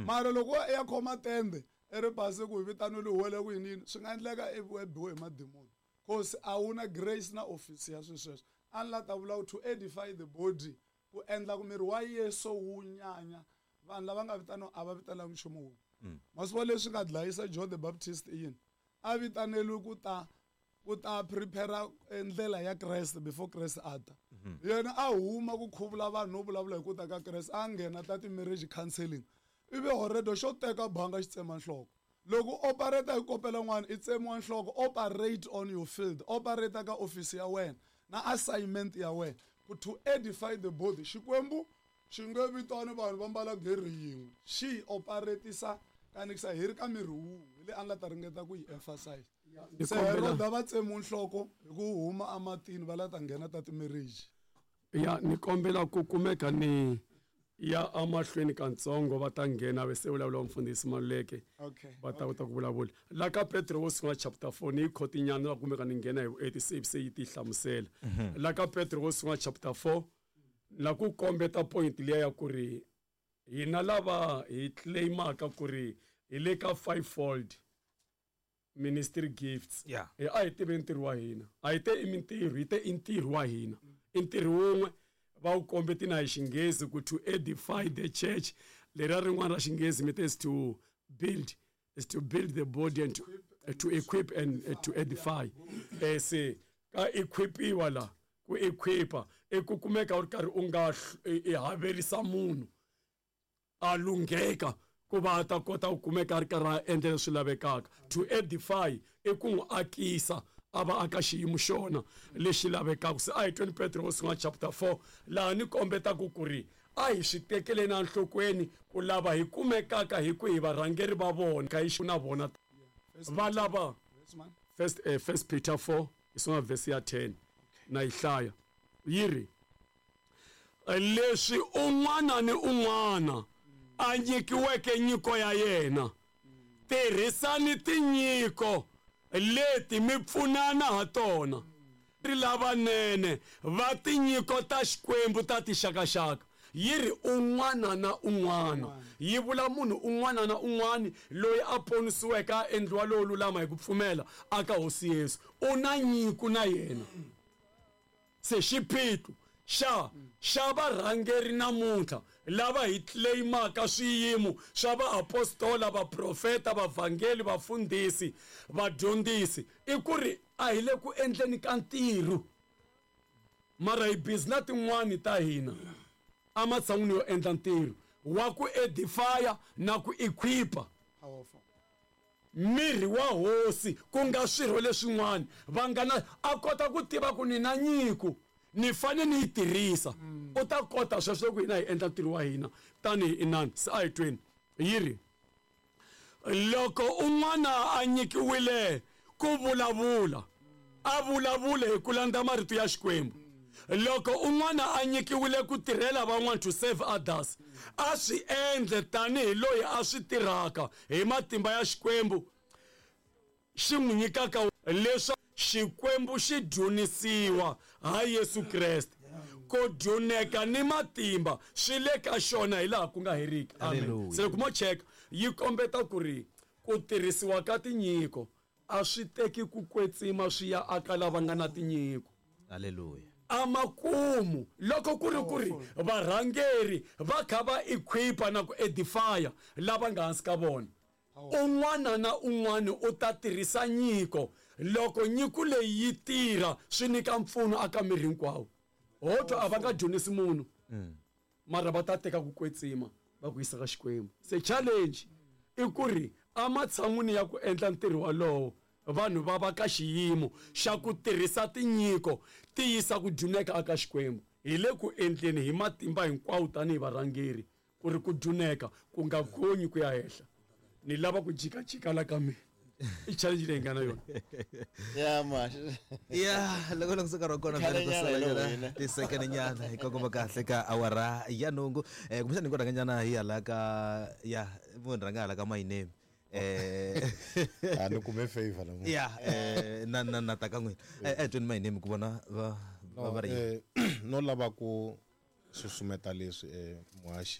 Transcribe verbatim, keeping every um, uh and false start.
Mara loko ya khoma tende i ri base ku hi vitanile huwele ku yini swi nga endleka i biwe hi madimoni cause a wu na grace na office ya swilo sweswo. A ni la ta vula to edify the body, ku endla ku miri wa Yesu wu nyanya. Vanhu lava nga vitaniwa a va vitananga nchumu wun'we. Masiku leswi nga dlayisa John the Baptist i yini? A vitaneliwe ku ta ku ta prepare ndlela ya Kreste before Kreste a ta. Yena a huma ku khuvula vanhu no vulavula hi ku ta ka Kreste, a nghena ta ti-marriage counseling. Ivi already xo teka banga xi tsema nhloko. Loko operate hi kopela n'wana i tsemiwa nhloko, operate on your field, operate ka office ya wena na assignment ya wena ku to edify the body. Xikwembu xi nge vitani vanhu va mbala geri yin'we, xi operatisa kanikisa hi ri ka miri wun'we. Hi leyi a nga ta ringeta ku yi emphasize. Se Heroda va tsemiwa nhloko hi ku huma ematini va la ta nghena ta ti-marriage. Ya ni kombela ku kumeka ni ya amahlweni kantsongo va ta nghena ve se vulavula mfundhisi Maluleke. Okay. Va ta kota ku vulavula. La ka Petro wo sungula chapter four ni khotinyana la kumeka ni nghena hi eighty-six se yi ti hlamusela. La ka Petro wo sungula chapter four la ku kombeta point liya ya ku ri hina lava hi claimaka ku ri hi le ka fivefold ministry gifts. Yeah. Eh, a hi tive ntirho wa hina. A hi te i mintirho, hi te i ntirho wa hina. I ntirho wun'we va wu kombeti na hi xinghezi ku to edify the church. Leriya rin'wana ra xinghezi mi te is to build, is to build the body and to, uh, to equip and, uh, to edify. Eh, se ka equipiwa la, ku equipa i ku kumeka u ri karhi u nga i haverisa munhu a lungheka ku va a ta kota ku kumeka a ri karhi a endla leswi lavekaka. To edify i ku n'wi akisa a va aka xiyimo xona lexi lavekaka. Se a hi tweni Petro wo sungula chapter four laha ni kombetaka ku ri a hi swi tekeleni enhlokweni ku lava hi kumekaka hi ku hi varhangeri va vona ka hi na vona va lava. First, eh, First Peter four hi sungula verse ya ten na yi hlaya yi ri leswi un'wana ni un'wana a nyikiweke nyiko ya yena, tirhisani tinyiko leti mi pfunana ha tona ri lavanene va tinyiko ta Xikwembu ta tixakaxaka. Yi ri un'wana na un'wana, yi vula munhu un'wana na un'wana loyi a ponisiweke a endliwa lowo lulama hi ku pfumela aka Hosi Yesu, u na nyiko na yena. Se xiphiqo xa xa varhangeri namuntlha lava hi claimaka swiyimo swa vaapostola, vaprofeta, vavhangeli, vafundhisi, vadyondzisi i ku ri a hi le ku endleni ka ntirho, mara hi busy na tin'wani ta hina ematshan'wini yo endla ntirho wa ku edifya na ku equipa miri wa Hosi, ku nga swirho leswin'wana va nga na a kota ku tiva ku ni na nyiko ni fane ni yi tirhisa. U ta kota sweswo loko hina hi endla ntirho wa hina tanihi inani. Se a hi tweni yi ri loko un'wana a nyikiwile ku vulavula a vulavule hi ku landza marito ya Xikwembu. Loko un'wana a nyikiwile ku tirhela van'wana, to serve others, a swi endle tanihi loyi a swi tirhaka hi matimba ya Xikwembu xi n'wi nyikaka, leswaku Xikwembu xi dyondzisiwa ha Yesu Kreste. Ku dyoneka ni matimba swi le ka xona hi laha ku nga heriki. Amen. Se loko mo cheka yi kombeta ku ri ku tirhisiwa ka tinyiko a swi teki ku kwetsima swi ya aka lava nga na tinyiko. Hallelujah. Amakumu loko ku ri ku ri varhangeri va kha va equipa na ku edifya lava nga hansi ka vona, un'wana na un'wana u ta tirhisa nyiko. Loko nyiko leyi yi tirha swi nyika mpfuno aka miri hinkwawo. Ho twa a va nga dyondzisi munhu, mara va ta teka ku kwetsima va ku yisa ka Xikwembu. Se challenge i ku ri ematshan'wini ya ku endla ntirho walowo, vanhu va va ka xiyimo xa ku tirhisa tinyiko ti yisa ku dyuneka aka Xikwembu. Hi le ku endleni hi matimba hinkwawo tanihi varhangeri ku ri ku dyuneka ku nga gonyi ku ya henhla. Ni lava ku jikajika la ka mina. I challenge leyi nga na yona. Ya ma. Ya loko loko nkarhi wa kona vhele ku sala nyana tisekene nyana hi kongoma kahle ka awara ya nhungu. Eh kumbexana hi ku rhanga nyana hi hala ka ya munhu rhanga hala ka my name. Eh a ni kume favor namuntlha. Ya eh na na na ta ka n'wina. Eh eh tweni my name ku vona va va ri no lava ku susumeta leswi eh muhaxi.